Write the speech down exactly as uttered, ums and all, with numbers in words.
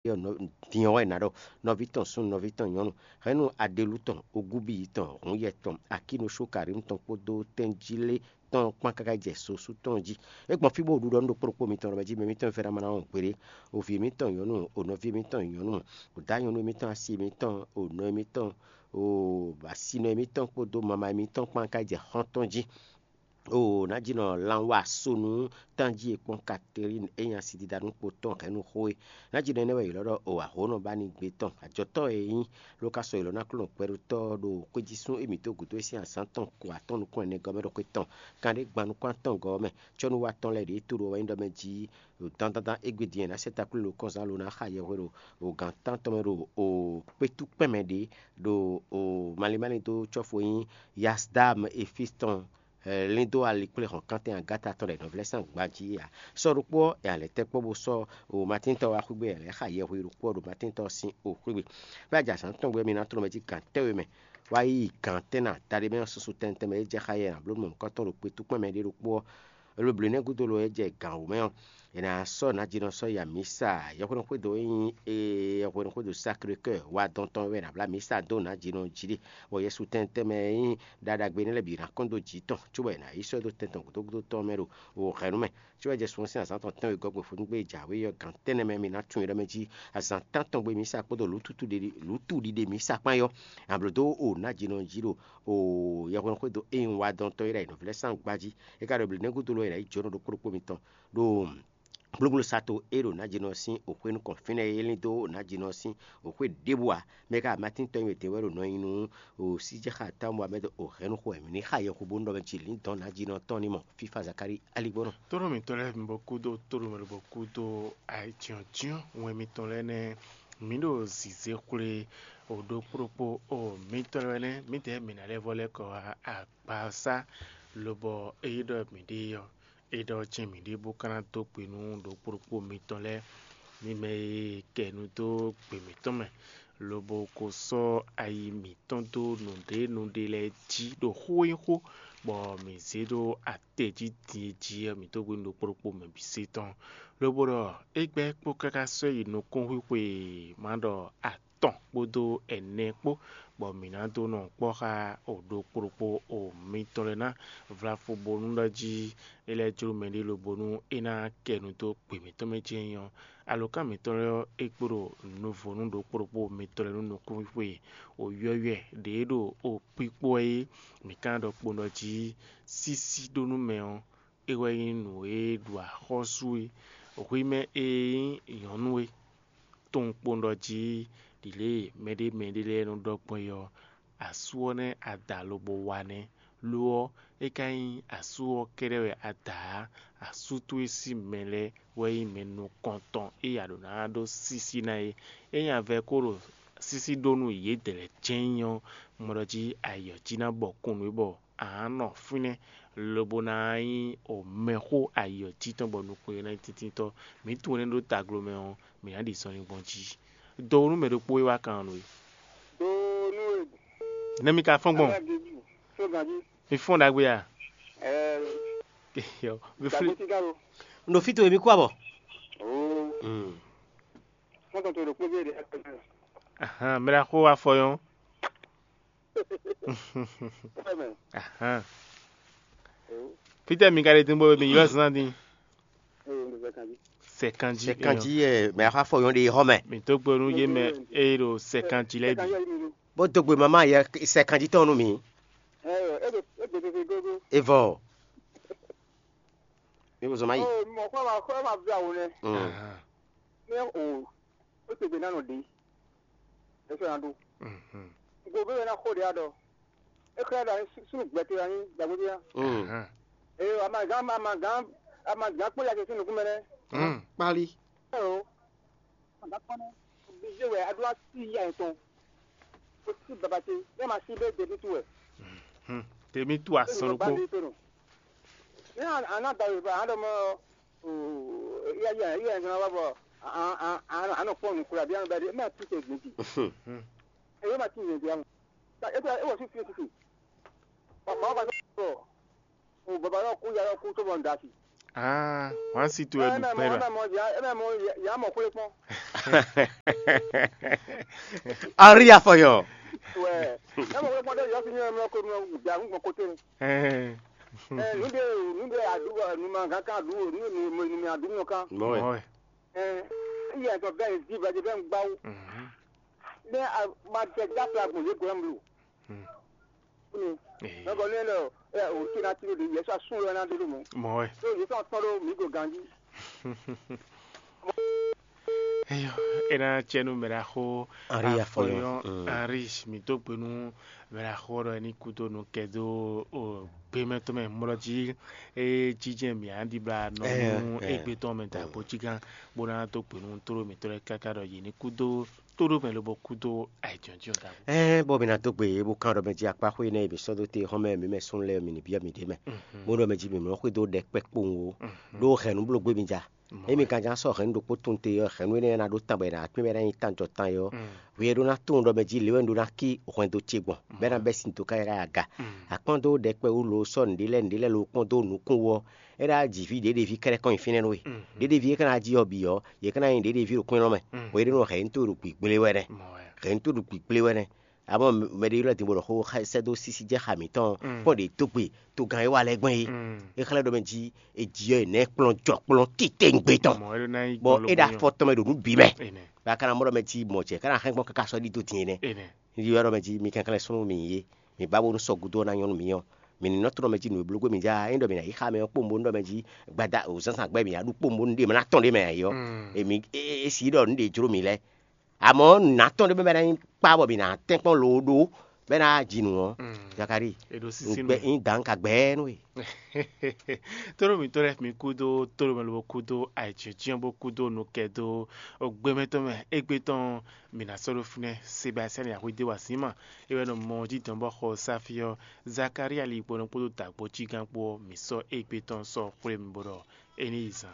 Din ɔ́ wɛ è nǎ ɖɔ nɔví tɔn súnnu, nɔví tɔn nyɔ̌nu, hɛ̌nnu aɖelú tɔn, ogúbíyi tɔn, hǔnyɛ tɔn, akínoshókarínu tɔn kpódó tɛ́njílé tɔn kpán káká yi jɛ sosú tɔn jí. É gbɔn fí bó ɖu ɖɔ nú ɖokpó ɖokpó mitɔn ɖɔ mɛ jí mɛ mitɔn e fɛ́ ná ma ná wɔn gbeɖé, o vǐ émítɔn nyɔ̌nu, o nɔví émítɔn nyɔ̌nu, o dǎ nyɔ̌nu émítɔn, asi émítɔn, o nɔ émítɔn, o asinɔ émítɔn kpódó mama émítɔn kpán ká yi jɛ xɔ́ntɔn jí. Oo, nǎjínɔ lanwá sonu tánjí e kpɔ́n Katerín e nyi asidida nú kpo tɔn hɛ̌nnu xó é. Nǎjínɔ énɛ́ wɛ è ylɔ́ ɖɔ o ahǒnɔ ba ní gbé tɔn ajɔtɔ́ e nyí, ló ka sɔ́ ylɔ́ ná klɔ́n gbɛɖótɔ́ ɖo xwéjísún émítɔn gǔdo e sín azǎn tɔn ko atɔ́ nukún ɛnɛ gɔ́ mɛ ɖo xwé tɔn, kanɖé gban nukún atɔn gɔ́ ɔ́ mɛ. Cɔ́nuwa tɔn lɛ́ɛ ɖě to ɖo wɛ nyí ɖɔ mɛ jí ɖo dandandan égbé din e è nǎ sɛ́ takwín lo kɔnzán lo ná xa yɛhwe ɖo o gǎn tántɔn mɛ ɖo o kpétú kpɛ́n mɛ ɖě ɖo o malín malín dó cɔ́fu e nyí Yasdam Efísi tɔn lín dó ali kplé hɔn kántɛn agáta tɔn ɖo nɔví lɛ́ɛ sín agba jí ǎ. Sɔ́ ɖokpó ɔ́, è alɛ̌ tɛ́ kpɔ́ bó sɔ́ o Matíntɔ́ wá xwígbe, è lɛ̌ xa yɛhwe ɖokpó ɔ́ ɖo Matíntɔ́ ɔ́ sín o xwígbe. Fí ajǎsán tɔn gbé mi ná tlɔ́n mɛ jí gǎn tɛ́nwe mɛ, wá yi gǎn tɛ́nná taɖé mɛ ɔ́ susu tɛnmɛ tɛnmɛ e jɛ xá yɛ nǎblóɖunɔ nǔkɔntɔn ɖo kpétúkpɛ́n mɛ ɖé ɖokpó ɔ́, lo blǒ nɛ́ gúdo lo e jɛ gǎn wú mɛ ɔ́, è nǎ sɔ́ nǎjínɔ sɔ́ yi amǐsa. Yɛhweɖɔxwédo e nyí yɛhweɖɔxwédo Sakré-Kɛ́ wa dɔn tɔn wɛ è nǎ blá amǐsa dó nǎjínɔ jí ɖe, bɔ Yɛsu tɛn tɛnmɛ e nyí ɖaɖagbe énɛ́ lɛ́ɛ bǐ ná kɔn dó jǐ tɔn, cóbɔ è nǎ yi sɔ́ ɛ dó tɛn tɔn gǔdo gúdo tɔn mɛ ɖo wǒ hɛ̌nnu mɛ. Cóbɔ jɛ sun ɔ́ sín azǎn tɔn tɛ́nwe gɔ́ gbe fó nú gbé e jǎwe ɔ́ gǎn tɛ́nnɛ mɛ mi ná tunwun ɖɔ mɛ jí azǎn tántɔn gbe mǐ sa kpódó lǔtuɖiɖe mǐ sa kpán yɔ́, ablǒ dó o nǎjínɔ jí ɖo o yɛhweɖɔxwédo e nyí wa dɔn tɔn e ɖo ayǐ nɔví lɛ́ɛ sín agba jí. É ka ɖo blǐ nɛ́ gúdo lɔ è nǎ yi jǒnɔ ɖokpó ɖokpó mitɔn ɖo gblógbló sato e ɖo nǎjínɔ sín òxwé nukɔn fínɛ́ e lín dó nǎjínɔ sín òxwé ɖěbǔ ǎ. Mɛ ka Matín tɔn e din wɛ ɖo nɔ nyi nú o síjɛxá támu ɔ́ mɛ dó o hɛ̌nnu xo wɛ mǐ ní xa yɛxu bónú ɖɔ mɛ jí lǐndɔ̌n nǎjínɔ tɔn ní mɔ fífá Zakalíi aligbɔnɔ. Tónú mǐtɔn lɛ́ɛ bǐ bɔ kúdó tónú mɛ lɔ bɔ kúdó ayǐjínjɔ́n wɛn mitɔn lɛ́ɛ nɛ́. Mǐ ɖo zǐzé xwlé o ɖokpó ɖokpó o mǐtɔn lɛ́ɛ nɛ́, mǐdɛɛ mǐ ná lɛ́ vɔ lɛ́ kɔ wá agbasá, lobɔ ényí ɖɔ mǐ ɖe ɔ́, é ɖɔ jɛ́n mǐ ɖe bó ka ná dó gbe nú ɖokpó ɖokpó mitɔn lɛ́ɛ, mi mɛ e kɛ nu dó gbe mǐtɔn mɛ, lobo ko sɔ́ ayi mǐtɔn dó nǔɖé nǔɖé lɛ́ɛ jí ɖo xó e nyí xó, bɔ mǐ zé ɖó atɛ jí din e jí ɔ́, mǐ dó gbe nú ɖokpó ɖokpó mɛ bǐ se tɔn. Lobo ɖɔ é gbɛ́ kpó káká sɔ́ yi nukúnxwixwe, ma ɖɔ atɔn kpódó ɛnɛ kpó, bɔ mǐ ná dó nɔ kpɔ́ xá o ɖokpó ɖokpó o mitɔn lɛ́ɛ ná vlafo bónú ɖɔ jí é lɛ́ jló mɛɖé lobónú é ná kɛ nu dó gbe mǐtɔn mɛ jɛ́n nyí ɔ́, alǒkan mǐtɔn lɛ́ɛ ɔ́, é kpo ɖo nuvo nú ɖokpó ɖokpó mitɔn lɛ́ɛ nú nukúnxwixwe. O yɔywɛ ɖě ɖo o kpikpɔ́ e mǐ ka ɖɔ kpowun ɖɔ jí sísí ɖó nú mɛ ɔ́, é wɛ nyí nǔ e ɖu axɔ́sú é. Hwi mɛ e nyí nyɔ̌nu é, tunwun kpowun ɖɔ jí ɖi lě e mɛɖé mɛɖé lɛ́ɛ nɔ ɖɔ gbɔn é ɔ́, asú ɔ́ nɛ́ a da lobo wa nɛ́. Lo ɔ́, é ka nyí asú ɔ́ kɛ́ɖɛ́ wɛ a da ǎ. Asú towe sín mɛ lɛ́ɛ wɛ nyí mɛ nukɔntɔn e a ɖǒ ná ɖó sísí ná é. Ényí a vɛ́ ko ɖo sísí ɖó nú yědɛɛ lɛ́ɛ jɛ́n nyí ɔ́, un mɔ ɖɔ jí ayǐ ɔ́ jí ná bɔ kún nú é bɔ a nǎ nɔ fínɛ́, lobo ná nyí o mɛxó ayǐ ɔ́ jí tɔn bɔ nukún e ná nyí tíntítɔ́. Mǐ tunwun énɛ́ ɖó taglo mɛ ɔ́, mǐ ná ɖi zɔnlin gbɔn jí. Dɔwunu mɛ ɖokpó e wá kan nú we. Donu e Nɛ́ mi ka fɔ́n gbɔn? Ala Jezu, sɔgan jí. Mi fɔ́n ɖagbe a? Ɛɛ, Yo, mi fli. Dagbe ti galo. Un ɖo fí towe mi kú abɔ. Oo, Mm. Fɔ́n tɔn to ɖo kpé gbé ɖe. Ahan, mɛ ɖaxó wa fɔ yɔn. Ɛmɛ. Ahan. Oo, Fítɛ́ mi ka ɖe dín bó mi ylɔ́ zán dín. Ee, un ɖo zɛ kan jí. Sɛ kanjí. Sɛ kanjí ɛ mɛ axa fɔ yɔn ɖe xɔ mɛ. Mi dó gbe nú yé mɛ eye ɖo sɛ kanjí lɛ́ɛ bǐ. Bó dó gbe mama yɛ sɛ kanjí tɔn nú mi. Ɛɛ, e ɖo e ɖo tete gogo. Evɔ. Mi ko zɔn ma yi. Oo, mɔ kɔ ma kɔ ma vi awo nɛ. Mm. Ahan. Ne o, o te gbe na nɔ ɖe. Eso na ɖo. Mhm. Go be na xo ɖe aɖɔ. E xlɛ ɖa sunu gbɛtɛ ani dagbe ya. Mm. Ahan. Ee, amagã amagã amagã kpɔ ya ke sunu kumɛ nɛ. Mm. Kpali. Ɛɛ o. Amagã kpɔ nɛ. Obligé wɛ a ɖo asi ya etɔn. O si baba te. Ne ma si be debi tu wɛ. Hmm. Tèmi tu asán ló kpó. Ne a na da yorùbá a ɖɔ mɔ iya iya iya ìgbìmọ̀ wa bɔ a a a a nɔ kpɔn nukura bí a nɔ bɛ di mɛ tu tɛ gbèdì. Hmm. Eye ma ti yẹn di a mɔ. E tɛ e wɔ fi fi fi. Papa wa ba sọ o baba yɔ ku ya yɔ ku tó bɔ n da si. Ah, wọ́n sì tó ẹ lù pẹ́ rà. Ẹ mọ̀ mọ̀ yà ẹ mọ̀ mọ̀ yà mọ̀ kúlé pọ́n. Ari afɔyɔ. Wẹ̀ ẹ mọ̀ kúlé pọ́n dé yọ sí ní ẹ mọ̀ kó nù jà ń gbọ̀n kóté. Ẹ nù dé nù dé àdúgbò nù mà gán ká àdúgbò nù nù nù mì àdúgbò kan. Mɔɛ. Ẹ iye ẹ̀tọ́ bẹ́ẹ̀ di bẹ́ẹ̀ di bẹ́ẹ̀ ń gbáwó. Ní a ma jẹ jáfla gbòǹdé gbòǹdé mlu. Ní lọ́gọ́ ní ẹ̀rọ ẹ̀ òkè náà ti lòdì yẹsọ asún lọ náà dúró mọ́. Mɔɛ. Tó yẹsọ tán ló mí go ganjí. Eyɔ, ena tsɛnu mɛɖaxo Ari afɔyɔ. Ari mi tó gbenu mɛɖaxo ɖɔ ni kudo nu kɛdo o gbemɛtɔ mɛ mɔlɔ jí. E jijɛ mi andi bla nɔ nu egbe tɔn mɛ da gbo jí gán. Bó ná tó gbenu tó mi tó lɛ káká ɖɔ yě ní kudo tó ɖó mɛ lobo kudo ayǐjɔ́njɔ́n da gbo. Ɛɛ bɔ mi ná dó gbe bó kán ɖɔ mɛ jí akpá xwé nɛ mi sɔ́ dó te xɔ́mɛ mi mɛ sún lɛ mi ní byɔ́ mi ɖě mɛ. Bó ɖɔ mɛ jí mi mlɔ xwé dó ɖɛ kpɛ kpowun o. Ɖó hɛ̌nnu bló gbé mi ja. Emi kan ján sɔ́ hɛ̌nnu ɖokpó tunwun te ɔ́, hɛ̌nnu énɛ́ ná ɖó tán bɔ è nǎ kpé bɔ é ná nyí tánjɔ tán é ɔ́, hwi e ɖó ná tunwun ɖɔ mɛ jí lě wɛ un ɖó ná cí hwɛndo ce gbɔn, bɔ é ná bɛ́ sin dó káyákáyá aga. Akpɔ́n dó ɖɛkpɛ wú lo sɔ́ nǔɖé lɛ́ɛ nǔɖé lɛ́ɛ lo kpɔ́n dó nukún wú ɔ́, é ná ji vǐ ɖěɖeví kɛ́ɖɛ́ kɔn nyi fínɛ́ nú we. Ɖěɖeví e ka ná ji ɔ́ bǐ ɔ́, yě ka ná nyi ɖěɖeví ɖo kwín lɔ́ mɛ, bɔ é ɖó nɔ hɛ̌nnu tó ɖo gbǐgblé wɛ nɛ́. Hɛ̌nnu tó ɖo gbǐgblé wɛ nɛ́. Amɔ̌ mɛɖé ylɔ́ din bó ɖɔ xó sɛ́ dó sísí jɛ xa mǐtɔn kpɔ́n ɖě dó gbe togán e wa lɛ́ɛ gbɔn é. É xlɛ́ ɖɔ mɛ jí è ji ɔ́ è nɛ́ kplɔ́n jɔ kplɔ́n titewungbe tɔn, bɔ é ɖo afɔ tɔn mɛ ɖo nǔ bǐ mɛ. Bɔ a ka ná mɔ ɖɔ mɛ jí mɔ jɛ ká ná hɛn gbɔn káká sɔ́ ɖi dó din énɛ́. Ní ylɔ́ ɖɔ mɛ jí mi kɛnklɛ́n súnnu mi yé, mi ba bónú sɔ́ gúdo ɔ́ ná nyɔ́ nú mi ɔ́, mi ní nɔ tlɔ́n mɛ jí nǔ e bló gbé mi já é ɖɔ mi ná yi xá mɛ ɔ́ kpóun bónú ɖɔ mɛ jí gbada o zǎnzǎn gbɛ mi ná ɖu kpóun bónú ɖe mɛ ná tɔn ɖé mɛ ǎ é ɔ́, èmi é sí ɖɔ nǔ ɖě jló mi lɛ́ɛ. Amɔ̌ nǔnatɔ́ ɖé mɛ bɔ é ná nyí kpá bɔ mǐ ná tɛ́nkpɔ́n loo ɖó bɔ é ná ji nǔ ɔ́, Zakalíi, un gbɛ nyí dǎn ka gbɛɛ nú we. Tóɖó mǐtɔn lɛ́ɛ mi kúdó tóɖó mɛ lobo kúdó ayǐjínjɔ́n bó kúdó nukɛ dó gbɛmɛ tɔn mɛ égbé tɔn mǐ ná sɔ́ ɖó fínɛ́. Sebastian Yahweh dé wá sí ma é wɛ nɔ mɔ jí dɔn bɔ xɔ sáfí ɔ́, Zakalíi ali kpó nɔ kpódó dǎgbó cí gán kpó ɔ́, mǐ sɔ́ égbé tɔn sɔ́ xwlé mi bó ɖɔ é ní yi zan.